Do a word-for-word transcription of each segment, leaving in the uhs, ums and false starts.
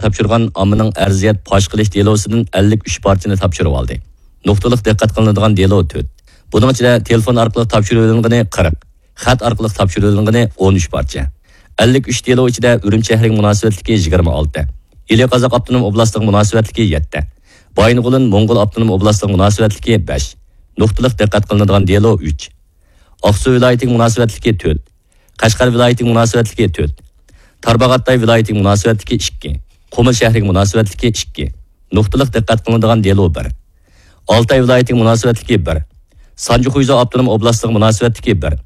تاپشۇرغان ئاممىنىڭ ئەرزىيەت پاش قىلىش دېلوسىدىن ئەللىك ئۈچ پارچىنى تاپشۇرۇۋالدى. نۇقتىلىق دىققەت قىلىنىدىغان دېلو تۆت. بۇنىڭ ئىچىدە تېلېفون ئارقىلىق تاپشۇرۇۋېلىنغىنى قىرىق، خەت ئارقىلىق تاپشۇرۇۋېلىنغىنى ئون ئۈچ پارچە. ئەللىك ئۈچ دېلو ئىچىدە ئۈرۈمچى شەھىرىگە مۇناسىۋەتلىكى يىگىرمە ئالتە، ئىلى قازاق ئاپتونوم ئوبلاستىغا مۇناسىۋەتلىكى يەتتە، بايىنغولىن موڭغۇل ئاپتونوم ئوبلاستىغا مۇناسىۋەتلىكى بەش، نۇقتىلىق دىققەت قىلىنىدىغان دېلو ئۈچ، ئاقسۇ ۋىلايىتىگە مۇناسىۋەتلىكى تۆت، قەشقەر ۋىلايىتىگە مۇناسىۋەتلىكى تۆت، تارباغاتاي ۋىلايىتىگە مۇناسىۋەتلىكى ئىككى، قۇمۇل شەھىرىگە مۇناسىۋەتلىكى ئىككى، نۇقتىلىق دىققەت قىلىنىدىغان دېلو بىر، ئالتاي ۋىلايىتىگە مۇناسىۋەتلىكى بىر، سانجى خۇيزۇ ئاپتونوم ئوبلاستىغا مۇناسىۋەتلىكى بىر،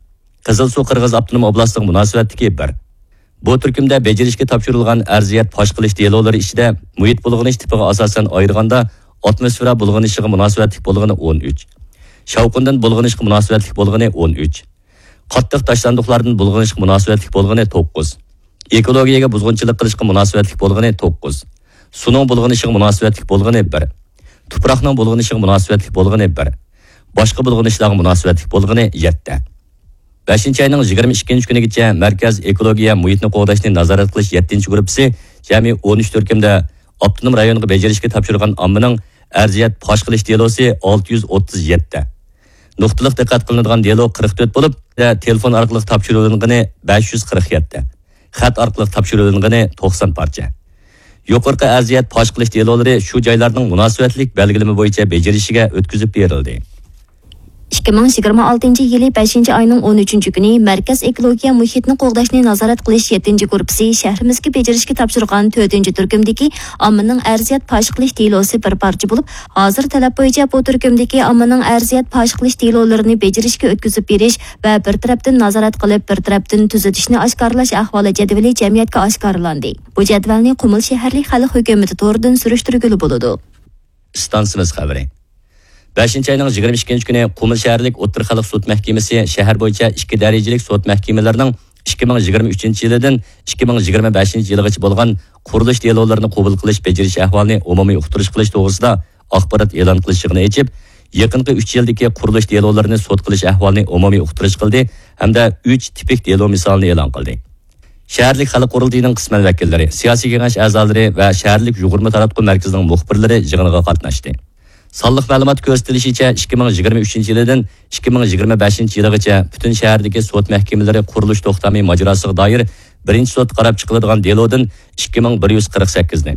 قىزىلسۇ قىرغىز ئاپتونوم ئوبلاستىغا مۇناسىۋەتلىكى بىر. بۇ تۈركۈمدە بېجىرىشكە تاپشۇرۇلغان ئەرزىيەت پاش قىلىش دېلولىرى ئىچىدە مۇھىت بۇلغىنىش تىپىغا ئاساسەن ئايرىغاندا، ئاتموسفېرا بۇلغىنىشىغا مۇناسىۋەتلىك بولغىنى ئون ئۈچ، شاۋقۇندىن بۇلغىنىشقا مۇناسىۋەتلىك بولغىنى ئون ئۈچ، قاتتىق تاشلاندۇقلاردىن بۇلغىنىشقا مۇناسىۋەتلىك بولغىنى توققۇز، ئېكولوگىيەگە بۇزغۇنچىلىق قىلىشقا مۇناسىۋەتلىك بولغىنى توققۇز، سۇنىڭ بۇلغىنىشىغا مۇناسىۋەتلىك بولغىنى بىر، تۇپراقنىڭ بۇلغىنىشىغا مۇناسىۋەتلىك بولغىنى بىر، باشقا بۇلغىنىشلارغا مۇناسىۋەتلىك بولغىنى يەتتە. بەشىنچى ئاينىڭ يىگىرمە ئىككىنچى كۈنىگىچە مەركەز ئېكولوگىيە مۇھىتنى قوغداشنى نازارەت قىلىش يەتتىنچى گۇرۇپپىسى جەمئىي ئون ئۈچ تۈركۈمدە ئاپتونوم رايونغا بېجىرىشكە تاپشۇرغان ئاممىنىڭ ئەرزىيەت پاش قىلىش دېلوسى ئالتە يۈز ئوتتۇز يەتتە، نۇقتىلىق دىققەت قىلىنىدىغان دېلو قىرىق تۆت بولۇپ، تېلېفون ئارقىلىق تاپشۇرۇۋېلىنغىنى بەش يۈز قىرىق يەتتە، خەت ئارقىلىق تاپشۇرۇۋېلىنغىنى توقسان پارچە. يۇقىرىقى ئەرزىيەت پاش قىلىش دېلولىرى شۇ جايلارنىڭ مۇناسىۋەتلىك بەلگىلىمە بويىچە بېجىرىشىگە ئۆتكۈزۈپ بېرىلدى. ئىككى مىڭ يىگىرمە ئالتىنچى يىلى بەشىنچى ئاينىڭ ئون ئۈچىنچى كۈنى مەركەز ئېكولوگىيە مۇھىتنى قوغداشنى نازارەت قىلىش يەتتىنچى گۇرۇپپىسى شەھىرىمىزگە بېجىرىشكە تاپشۇرغان تۆتىنچى تۈركۈمدىكى ئاممىنىڭ ئەرزىيەت پاش قىلىش دېلوسى بىر پارچە بولۇپ، ھازىر تەلەپ بويىچە بۇ تۈركۈمدىكى ئاممىنىڭ ئەرزىيەت پاش قىلىش دېلولىرىنى بېجىرىشكە ئۆتكۈزۈپ بېرىش ۋە بىر تەرەپتىن نازارەت قىلىپ، بىر تەرەپتىن تۈزىتىشنى ئاشكارىلاش ئەھۋالى جەدۋىلى جەمئىيەتكە ئاشكارىلاندى. بۇ جەدۋەلنى قۇمۇل شەھەرلىك خەلق ھۆكۈمىتى تورىدىن سۈرۈشتۈرگىلى بولىدۇ. ئىستانسىمىز خەۋىرى. بەشىنچى ئاينىڭ يىگىرمە ئىككىنچى كۈنى قۇمۇل شەھەرلىك ئوتتۇرا خەلق سوت مەھكىمىسى شەھەر بويىچە ئىككى دەرىجىلىك سوت مەھكىمىلىرىنىڭ ئىككى مىڭ يىگىرمە ئۈچىنچى يىلىدىن ئىككى مىڭ يىگىرمە بەشىنچى يىلىغىچە بولغان قۇرۇلۇش دېلولىرىنى قوبۇل قىلىش بېجىرىش ئەھۋالىنى ئومۇمىي ئۇقتۇرۇش قىلىش توغرىسىدا ئاخبارات ئېلان قىلىش يىغىنى ئېچىپ، يېقىنقى ئۈچ يىلدىكى قۇرۇلۇش دېلولىرىنى سوت قىلىش ئەھۋالىنى ئومۇمىي ئۇقتۇرۇش قىلدى ھەمدە ئۈچ تىپىك دېلو مىسالىنى ئېلان قىلدى. شەھەرلىك خەلق قۇرۇلتىيىنىڭ قىسمەن ۋەكىللىرى، سىياسىي كېڭەش ئەزالىرى ۋە شەھەرلىك يۇغۇرما تاراتقۇ مەركىزىنىڭ مۇخبىرلىرى يىغىنغا قاتناشتى. سانلىق مەلۇماتتا كۆرسىتىلىشىچە، ئىككى مىڭ يىگىرمە ئۈچىنچى يىلىدىن ئىككى مىڭ يىگىرمە بەشىنچى يىلىغىچە پۈتۈن شەھەردىكى سوت مەھكىمىلىرى قۇرۇلۇش توختامى ماجىراسىغا دائىر بىرىنچى سوتتا قاراپ چىقىلىدىغان دېلودىن ئىككى مىڭ بىر يۈز قىرىق سەككىزنى،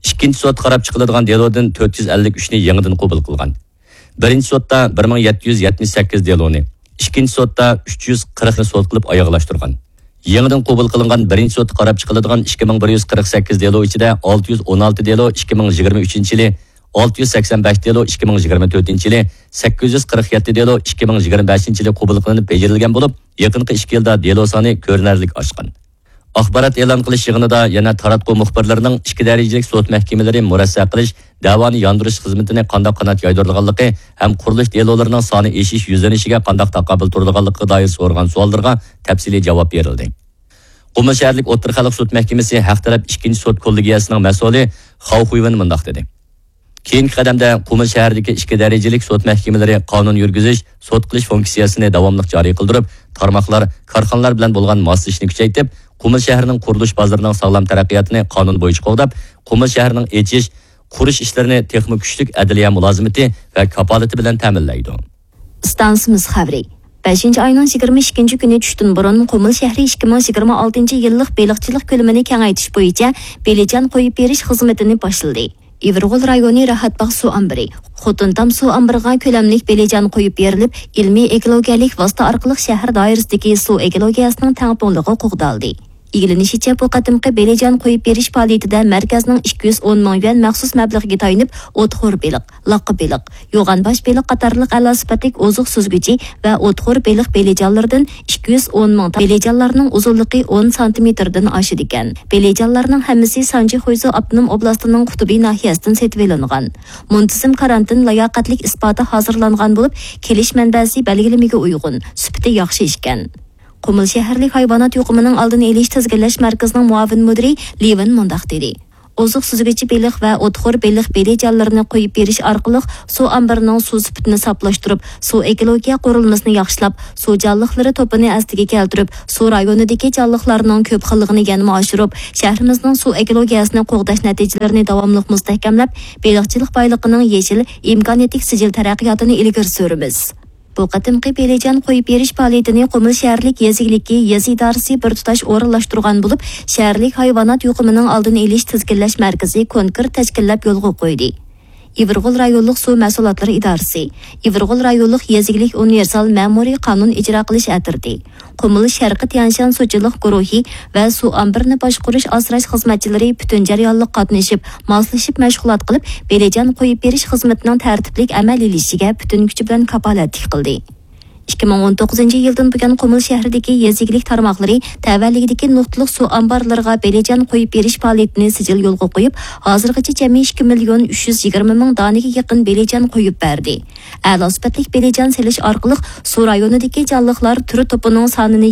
ئىككىنچى سوتتا قاراپ چىقىلىدىغان دېلودىن تۆت يۈز ئەللىك ئۈچنى يېڭىدىن قوبۇل قىلغان. بىرىنچى سوتتا بىر مىڭ يەتتە يۈز يەتمىش سەككىز دېلونى، ئىككىنچى سوتتا ئۈچ يۈز قىرىقنى سوت قىلىپ ئاياغلاشتۇرغان. يېڭىدىن قوبۇل قىلىنغان بىرىنچى سوتتا قاراپ چىقىلىدىغان ئىككى مىڭ بىر يۈز قىرىق سەككىز دېلو ئىچىدە ئالتە يۈز ئون ئالتە دېلو ئىككى مىڭ يىگىرمە ئۈچىنچى يىلى، ئالتە يۈز سەكسەن بەش دېلو ئىككى مىڭ يىگىرمە تۆتىنچى يىلى، سەككىز يۈز قىرىق يەتتە دېلو ئىككى مىڭ يىگىرمە بەشىنچى يىلى قوبۇل قىلىنىپ بېجىرىلگەن بولۇپ، يېقىنقى ئىككى يىلدا دېلو سانى كۆرۈنەرلىك ئاشقان. ئاخبارات ئېلان قىلىش يىغىنىدا يەنە تاراتقۇ مۇخبىرلىرىنىڭ ئىككى دەرىجىلىك سوت مەھكىمىلىرى مۇرەسسە قىلىش، دەۋانى ياندۇرۇش خىزمىتىنى قانداق قانات يايدۇرىدىغانلىقى ھەم قۇرۇلۇش دېلولىرىنىڭ سانى ئېشىش يۈزلىنىشىگە قانداق تاقابىل تۇرىدىغانلىقىغا دائىر سورىغان سوئاللىرىغا تەپسىلىي جاۋاب بېرىلدى. قۇمۇل شەھەرلىك ئوتتۇرا خەلق سوت مەھكىمىسى ھەق تەرەپ ئىككىنچى سوت كوللېگىيەسىنىڭ مەسئۇلى خاۋ خۇيۋېن مۇنداق دېدى. كېيىنكى قەدەمدە قۇمۇل شەھىرىدىكى ئىككى دەرىجىلىك سوت مەھكىمىلىرى قانۇن يۈرگۈزۈش، سوت قىلىش فۇنكسىيەسىنى داۋاملىق جارى قىلدۇرۇپ، تارماقلار، كارخانىلار بىلەن بولغان ماسلىشىشنى كۈچەيتىپ، قۇمۇل شەھىرىنىڭ قۇرۇلۇش بازىرىنىڭ ساغلام تەرەققىياتىنى قانۇن بويىچە قوغداپ، قۇمۇل شەھىرىنىڭ ئېچىش، قۇرۇش ئىشلىرىنى تېخىمۇ كۈچلۈك ئەدلىيە مۇلازىمىتى ۋە كاپالىتى بىلەن تەمىنلەيدۇ. ئىستانسىمىز خەۋىرى. بەشىنچى ئاينىڭ يىگىرمە ئىككىنچى كۈنى چۈشتىن بۇرۇن قۇمۇل شەھىرى ئىككى مىڭ يىگىرمە ئالتىنچى يىللىق بېلىقچىلىق كۆلىمىنى كېڭەيتىش بويىچە بېلىجان قويۇپ بېرىش خىزمىتىنى باشلىدى. ئىۋىرغول رايونى راھەتباغ سۇ ئامبىرى، خوتۇنتام سۇ ئامبىرىغا كۆلەملىك بېلىجان قويۇپ بېرىلىپ، ئىلمىي ئېكولوگىيەلىك ۋاسىتە ئارقىلىق شەھەر دائىرىسىدىكى سۇ ئېكولوگىيەسىنىڭ تەڭپۇڭلۇقى قوغدالدى. ئىگىلىنىشىچە، بۇ قېتىمقى بېلىجان قويۇپ بېرىش پائالىيىتىدە مەركەزنىڭ ئىككى يۈز ئون مىڭ يۈەن مەخسۇس مەبلىغىگە تايىنىپ، ئوتخور بېلىق، لاققا بېلىق، يوغان باش بېلىق قاتارلىق ئەلا سۈپەتلىك ئوزۇق سۈزگۈچى ۋە ئوتخور بېلىق بېلىجانلىرىدىن ئىككى يۈز ئون مىڭ تا بېلىجانلارنىڭ ئۇزۇنلۇقى ئون سانتىمېتىردىن ئاشىدىكەن. بېلىجانلارنىڭ ھەممىسى سانجى خۇيزۇ ئاپتونوم ئوبلاستىنىڭ قۇتۇبى ناھىيەسىدىن سېتىۋېلىنغان. مۇنتىزىم كارانتىن لاياقەتلىك ئىسپاتى ھازىرلانغان بولۇپ، كېلىش مەنبەسى بەلگىلىمىگە ئۇيغۇن، سۈپىتى ياخشى ئىكەن. قۇمۇل شەھەرلىك ھايۋانات يۇقۇمىنىڭ ئالدىنى ئېلىش تىزگىنلەش مەركىزىنىڭ مۇئاۋىن مۇدىرى لىۋېن مۇنداق دېدى. ئوزۇق سۈزگۈچى بېلىق ۋە ئوتخور بېلىق بېلىجانلىرىنى قويۇپ بېرىش ئارقىلىق سۇ ئامبىرىنىڭ سۇ سۈپىتىنى ساپلاشتۇرۇپ، سۇ ئېكولوگىيە قۇرۇلمىسىنى ياخشىلاپ، سۇ جانلىقلىرى توپىنى ئەسلىگە كەلتۈرۈپ، سۇ رايونىدىكى جانلىقلارنىڭ كۆپ خىللىقىنى يەنىمۇ ئاشۇرۇپ، شەھىرىمىزنىڭ سۇ ئېكولوگىيەسىنى قوغداش نەتىجىلىرىنى داۋاملىق مۇستەھكەملەپ، بېلىقچىلىق بايلىقىنىڭ يېشىل، ئىمكانىيەتلىك سىجىل تەرەققىياتىنى ئىلگىرى سۈرىمىز. بۇ قېتىمقى بېلىجان قويۇپ بېرىش پائالىيىتىنى قۇمۇل شەھەرلىك يېزا ئىگىلىكى يېزا ئىدارىسى بىر تۇتاش ئورۇنلاشتۇرغان بولۇپ، شەھەرلىك ھايۋانات يۇقۇمىنىڭ ئالدىنى ئېلىش، تىزگىنلەش مەركىزى كونكرېت تەشكىللەپ يولغا قويدى. ئىۋىرغول رايونلۇق سۇ مەھسۇلاتلىرى ئىدارىسى، ئىۋىرغول رايونلۇق يېزا ئىگىلىك ئۇنىۋېرسال مەمۇرىي قانۇن ئىجرا قىلىش ئەترىتى، قۇمۇل شەرقىي تيەنشان سۇچىلىق گۇرۇھى ۋە سۇ ئامبىرىنى باشقۇرۇش ئاسراش خىزمەتچىلىرى پۈتۈن جەريانلىق قاتنىشىپ، ماسلىشىپ مەشغۇلات قىلىپ، بېلىجان قويۇپ بېرىش خىزمىتىنىڭ تەرتىپلىك ئەمەلىيلىشىشىگە پۈتۈن كۈچى بىلەن كاپالەتلىك قىلدى. ئىككى مىڭ ئون توققۇزىنچى يىلدىن بۇيان، قۇمۇل شەھىرىدىكى يېزا ئىگىلىك تارماقلىرى تەۋەلىكىدىكى نۇقتىلىق سۇ ئامبارلىرىغا بېلىجان قويۇپ بېرىش پائالىيىتىنى سىجىل يولغا قويۇپ، ھازىرغىچە جەمئىي ئىككى مىليون ئۈچ يۈز يىگىرمە مىڭ دانىگە يېقىن بېلىجان قويۇپ بەردى. ئەلا سۈپەتلىك بېلىجان سېلىش ئارقىلىق سۇ رايونىدىكى جانلىقلار تۈر توپىنىڭ سانىنى